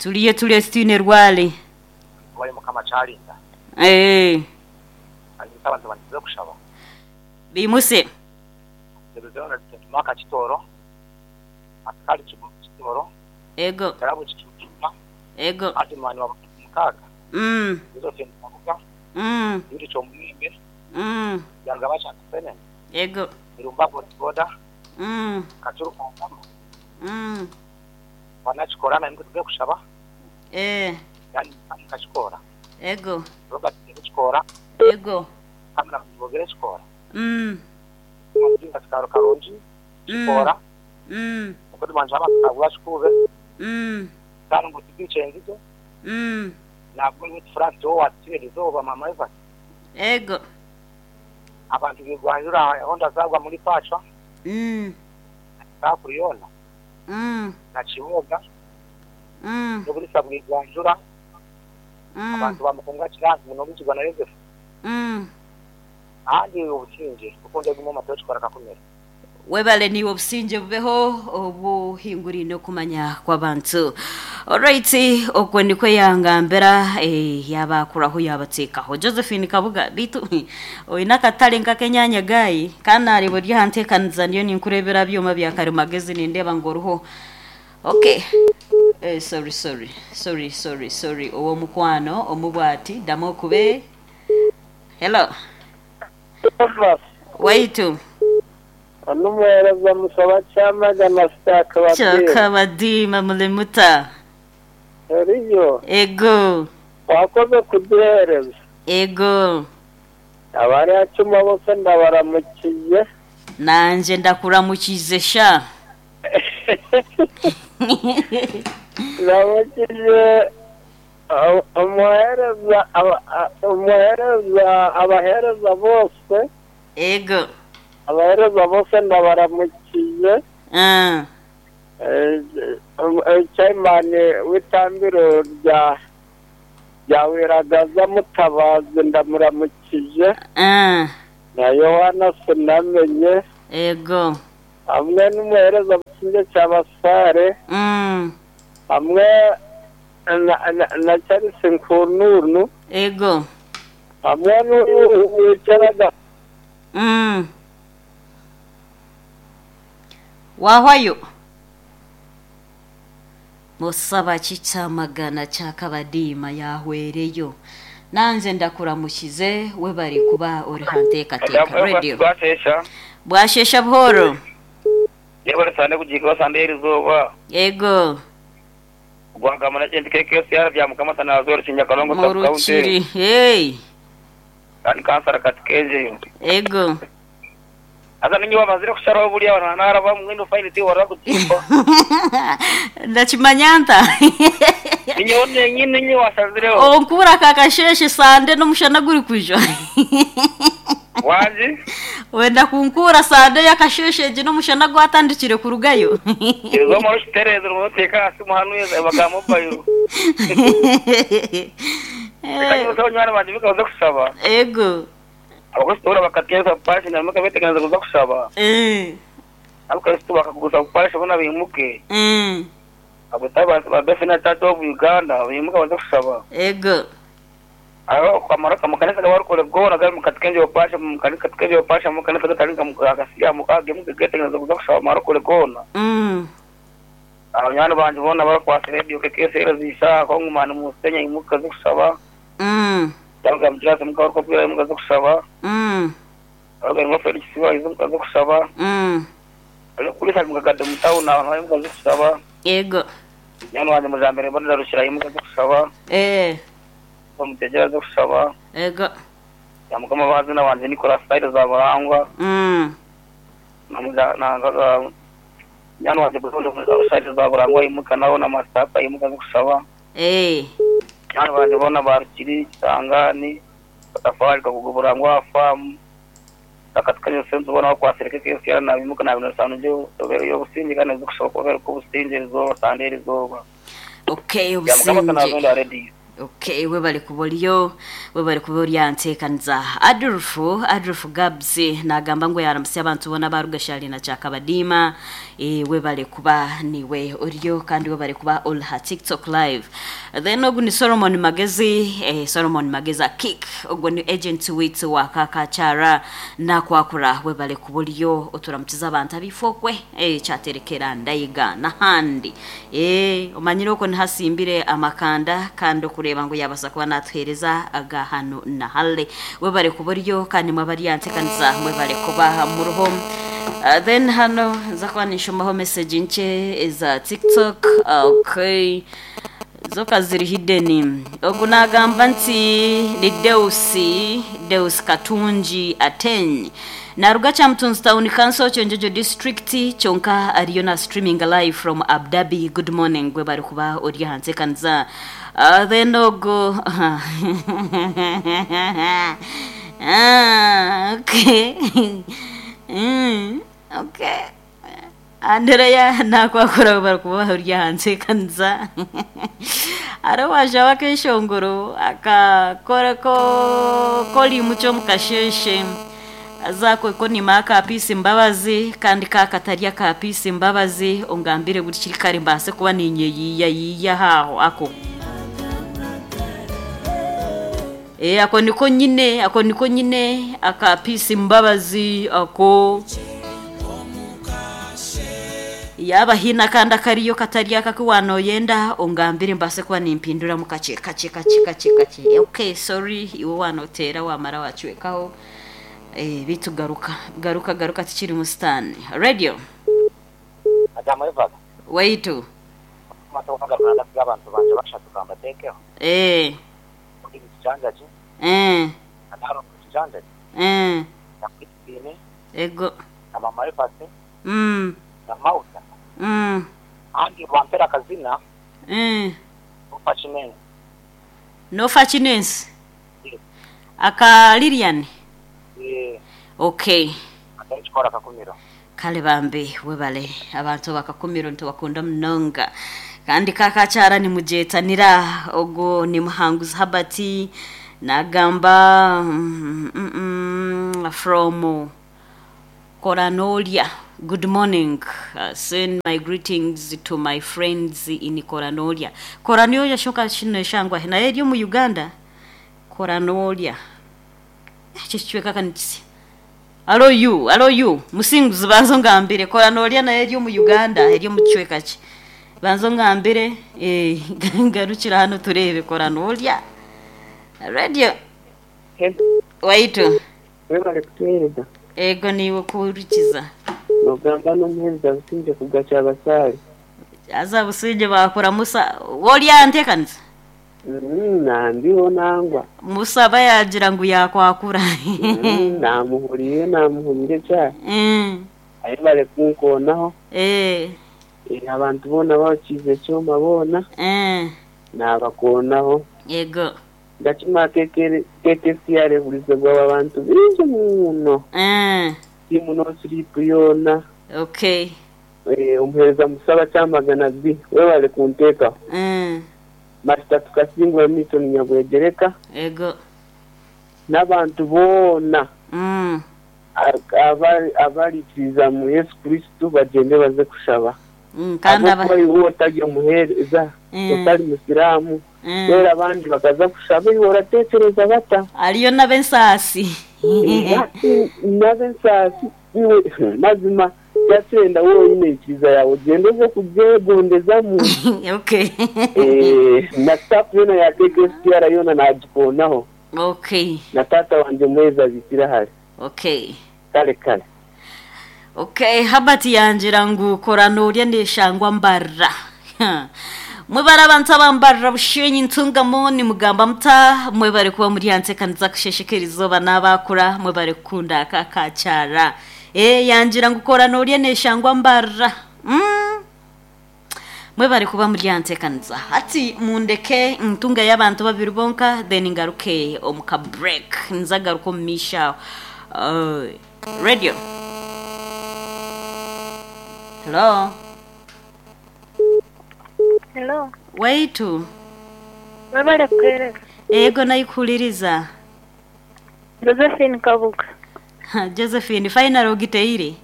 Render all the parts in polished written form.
Turiyo turiyo titwine rwari. Owaye Mukama akyarinda. Eeh. Kandi nti abantu bandize kushaba. Beimuse. Ndebezeho na Vincent Mark Kitooro, Asikari Kitooro, Ego. Karabo Kicumba, Ego. Adman wa Mukaaga, Josephine Kabuga, Yuri Kyomuyembe, Byarugaba Kyakafenene, Ego. Irumba Bodaboda, Kacuru Kangama, Banakikora na nimwe tuze kushaba. Eh. Yani Mukakikora. Ego. Robert Kikora. Ego. Kamera Mubogere Kikora. Mujinga Kikaro Karungi Kikora. Mukozi wanje abakagwa Kikube. Kandi ngo tubice nzizo. Ntabwo ni France wo watire izuba mama Eva. Ego. Abantu bigwanjura honda zagwa muri pacha. Takuriyona. Na Kiboga. N'obulisa bwigwanjura. Abantu bamukunga kirangi muno mukigwa na Yosefu. Ahandi obusinge kuko ndeguma amatoki kikora kakumira. Webale niiwe obusinge bubeho obuhinguraine okumanya kw'abantu. Alright, okwo nikwo yangambira eh, yaabakuraho yaabateekaho. Josephine Kabuga, beitu oine akatare nk'ak'enyaanya gaayi kandi naareeba ori aha nteekaniza ndiyo ninkureebera aha byoma bya karimagezi nindeeba ngu oriho. Okay. Eh, sorry, sorry, sorry, sorry, sorry. Ow'omukwano omubwati, ddamu okube. Hello. Waitu. Onu omuheereza Musaba Kyamagana Kyakabadiima. Kyakabadiima muri muta? Eriyo. Ego. Wakoze kuduheereza. Ego. Abari aha kyoma bose ndabaramukize. Nangye ndakuramukize sha. Ndamukije omuheereza omuheereza abaheereza bose. Ego. Abaheereza bose ndabaramukize. Chairman w'itambiro rya rya Wiragaza Mutabazi ndamuramukije. Na Yohana Sinamenye. Ego. Hamwe n'umuheereza Busingye Kyabasare. Hamwe na, na, na Charles Nkununu. Ego. Hamwe n'uyu wicaraga. Wahwayo. Musaba ki Kyamagana Kyakabadiima yaahwereyo. Nangye ndakuramukize webare kuba ori ha nteekateeka Radio. Bwasheesha. Bwasheesha buhooro. Yebare sande kugiika sande y'erizooba. Yego. Gwagamba na kintu KKCR bya Mukama Sanazo Rukinya Kalongo Mu sub county. Rukiri. Hey. Kandi kansara kati kenjeyo. Ego. Haza ninye wamazire kusharaho buriya abantu naraba mwenu fayini tiwara kutimba. Ndakimanya nta? Ninye nenyine ninye washazireho. Onkubura aka kasheeshe sande n'omushana guri kujwa. Wangi? Wenda kunkuura sande y'akasheeshe egi n'omushana gwatandikire kurugayo. Ezo mara okitereeza oteeka aha simu hanu eba mobile. Reka nyimuseho nywani bangye bikabaza kushaba. Ego. Abakristo bakateza pashi na muka beteganza kuza kushaba. Abakristo bakaguza pashi bona bimuke. Abatayi ba Bethany Church of Uganda bimuka baza kushaba. Ego. Aho kwamara mukanisa gabarukore gona gari mukatikenje opasha mukanisa katikenje opasha mukanisa gatarinka mukakasiya mukage muketeganza kuza kushaba marukore gona. Abanywana banje bona barakwasa radio KKCR zisha ko ngumana musenya imuka zo kushaba. Cyangwa mujirase mukabarukore bwira imuka zo kushaba. Abaga ngo Felix wa izo muka zo kushaba. Ari kuri sali mukagada mutawuna abantu bari muka zo kushaba. Ego. Nyana wanje mujambere bona rushira imuka zo kushaba. Bamutegera zo kushaba. Ego. Ya mukama bazina wanje Nicolas Said zabarangwa. Namuja na nyana wanje buzondo Said zabarangwa imuka nawo na masapa imuka zo kushaba. Nyana wanje bona barukiri sangani batafari kakuguburangwa famu. Akatukanya sense ubona wakwasireka kesi na bimuka na bintu sanu byo yo businge kandi zo kushaba kubera ko businge rizoba sande rizoba. Okay, Ya mukama obusinge. sana zonda ready. Okay, webale kuba oriyo, webale kuba ori aha nteekaniza. Adolf, Adolf Gabs nagamba ngu yaramutsya abantu boona abaruga Shali na Kyakabadiima. Eh, webale kuba niwe oriyo kandi webale kuba ori ha TikTok live. Then ogu ni Solomon Magezi, eh, Solomon Magezi Kick, ogwo ni agent waitu wa Kakakyara nakwakura webale kuba oriyo oturamukiza abantu abifokwe eh, kyaterekera ndayiga n'ahandi. Eh, omanyire okwo nihasimbire amakanda kandi okureba ngu yabasa kuba natuhereza aga hanu na hale. Webale kuba oriyo kandi mwabari yantekanisa mwebale kuba muruho. Then hano nza kuba ninshomaho message nkye eza TikTok. Okay. Zoka ziri hidden. Ogu nagamba nti ni Deusi, Deus Katungi Ateny. Naruga Kyamutunzi Town Council Kyenjojo District kyonka ariyo na streaming live from Abu Dhabi. Good morning gwe bari kuba ori aha nteekaniza. Then ogu okay. Okay. Andrea nakwakura bari kuba ori aha nteekaniza. Hariho owaajaho akeshongoro akakora ko korimu ky'omukasheeshe aza ko nima aka Peace Mbabazi kandi ka katari aka Peace Mbabazi ongambire buri kiri kare mbaase kuba ninyeyiya yiya haho ako. Eh, ako niko nyine, ako niko nyine aka Peace Mbabazi ako yaba hina kandi akariyo katari aka wanoyenda ongambire mbase kuba nimpindura mu kace kace kace kace kace. Okay, sorry iwe wanotera wamara wacwekaho. Eh, bitu garuka garuka garuka tikiri mu stand radio Adamu Evaga waitu matoka garuka abantu banje bashatu gambatekeho eh kijanjaji eh anaro kijanjaji eh nakwitine ego na mama Evase na Mauta andi wampera kazina ufa chinene nofa chinensi aka Lilian eh okay atari kakumiro kale bambi webale abantu bakakumiro ntibakunda munonga kandi kakakyara nimujetanira ogwo ni Muhanguzi Habati nagamba from Koranolia. Good morning. Send my greetings to my friends in Koranolia. Koranolia shoka shino shangwa naye eri mu Uganda. Koranolia. Chichweka kanitsi. Alo you, alo you. Musinguzi banzo ngambire Koranolia naye eri mu Uganda, eri mu chweka ki. Banzo ngambire eh ngarukira hano turebe Koranolia. Radio. Waitu. Webale kutuhereza. Ego niwe kurikiza. Nogamba n'omuhereza Businge kugacha abasaale. Aza Businge bakora Musa wolya ntekanisa. Nandiho nangwa. Musa bayagira ngu yakwakura. Namuhuriye namuhumire cyane. Ayebale kunkonaho. Eh. Abantu bona bakize cyoma bona. Nabakonaho. Yego. Ndakima KKCR bulize abantu bingi muno. Timu no sleep yona. Okay. Eh, umuhereza musaba cyamagana B webale kunteka. Master tukasingwa mito nyabwegereka. Ego. N'abantu bona. Abarikiriza mu Yesu Kristo bagende baze kushaba. Kandi aba otagiye umuhereza utari musilamu. Rero abandi bakaza kushaba uratekereza bata. Ariyo n'abensasi. N'abensasi iwe mazima yatenda wowe ikiriza yawe ugende uze kubyegondezamo. Okay. Eh, na staff yona ya KKCR yona nagikonaho. Okay. Na tata wanje mweza bitira. Okay. Kale kale. Okay, Habati yangira ngu Koranolia neshangwa mbarra. Mwebare abantu abambarra bushenyi ntungamo ni mugamba muta mwebare kuba muri yantekanisa kusheshekera izoba n'abakura mwebare kukunda akakacyara. Eh, yangira ngu Koranolia neshangwa mbarra. Mwebare kuba muri yantekanisa. Ati mundeke ntunga y'abantu babiri bonka then ngaruke omuka break nzagaruko misha. Radio. Hello. Hello. Waitu. Webale kuheereza. Ego naikuhuliriza. Josephine Kabuga. Josephine, final ogiteire.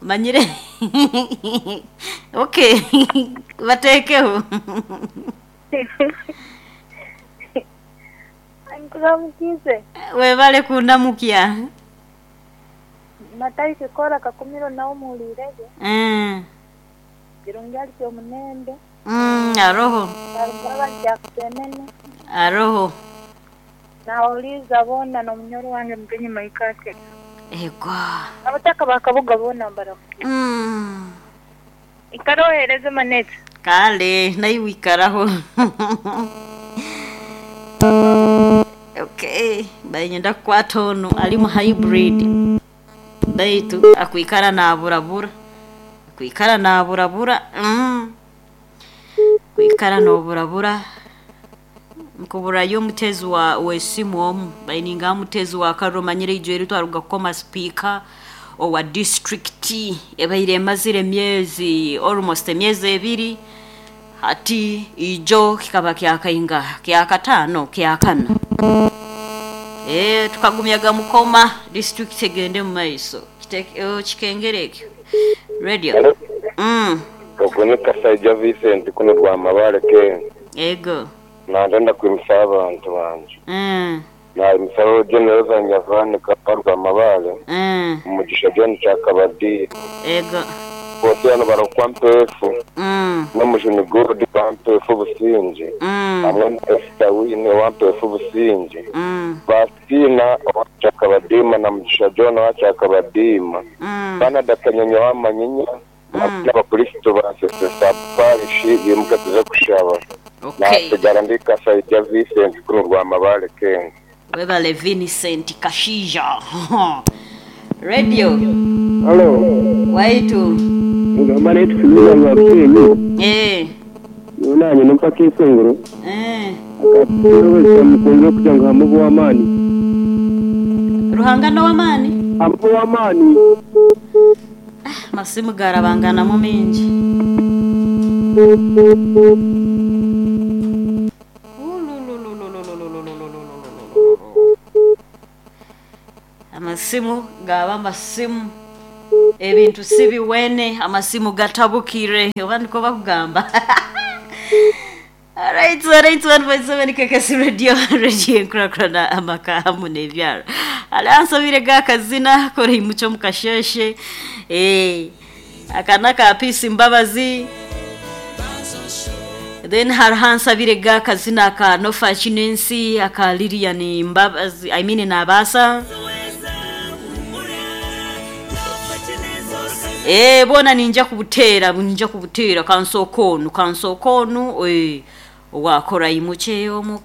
Manyire. Okay. Bateekeho. Nkuramukize. Webale kundamukya. Matayi Kikora Kakumiro nawe muhuriirege. Kirungi ari Omunembe. Aroho. Barugaba Jackson. Aroho. Nawuliza boona n'omunyoro wange Mugenyi Maikate. Ego. Abataka ba Kabuga boona mbaramukize. Ikara ohereze manete. Kale, naiwe ikaraho. Okay, bainyenda kukwata onu ali mu hybrid. Baitu akwikara naburabura. Akwikara naburabura. Kwikara noburabura. Nkuburayo omutezi wa wesimu omu baininga omutezi wa karro manyire ijo eri twaruga kukoma speaker owa district ebaire emazire emyezi almost emyezi ebiri hati ijo kikaba kyakainga kyakataano kyakana tukagumyaga mukoma district egende mu maiso kikengere ekyo radio. Ogwo ni Kasaija Vincent kuno Rwamabare ke. Ego. Nandenda kwimusa abantu banje. Nayimusaho General Nyavani Kapa Rwamabare. Umugisha John Kyakabadi. Ego. Bose hano barokwa Mpefu. N'omujuni Godi wa Mpefu Businge. Hamwe na Esther Wine wa Mpefu Businge. Bastina wa Kyakabadima na Mugisha John wa Kyakabadima. Canada Kanyonyo wa Manyinya. N'abakristo ba Sesesa Parish bimuka tuze kushaba. Okay. Nasigara ndi Kasaija Vincent kuno Rwamabare Kenya. Webale Vincent Kashija. Radio. Hello. Waitu. Ngamba netu kunyuza nga kusenyu. Yonanye nompaka esenguro. Akatero mukunze kugira ngo hamubu w'amaani. Ruhanga no w'amaani? Hamubu w'amaani. Masimu garabanganamu mingi. Amasimu gaba amasimu ebintu si biwene amasimu gatabukire oba niko bakugamba. Alright, 1.7 KKC Radio Radio enkurakurana amaka hamu n'ebyaro. Alansabire gakazina kora imuco mukasheshe akana ka Peace Mbabazi. Then hariho gakazina ka Nofa Chinensi aka Lilian Mbabazi, I mean Nabasa. Bona ninja kubutera kansokonu wakora imuche omuka.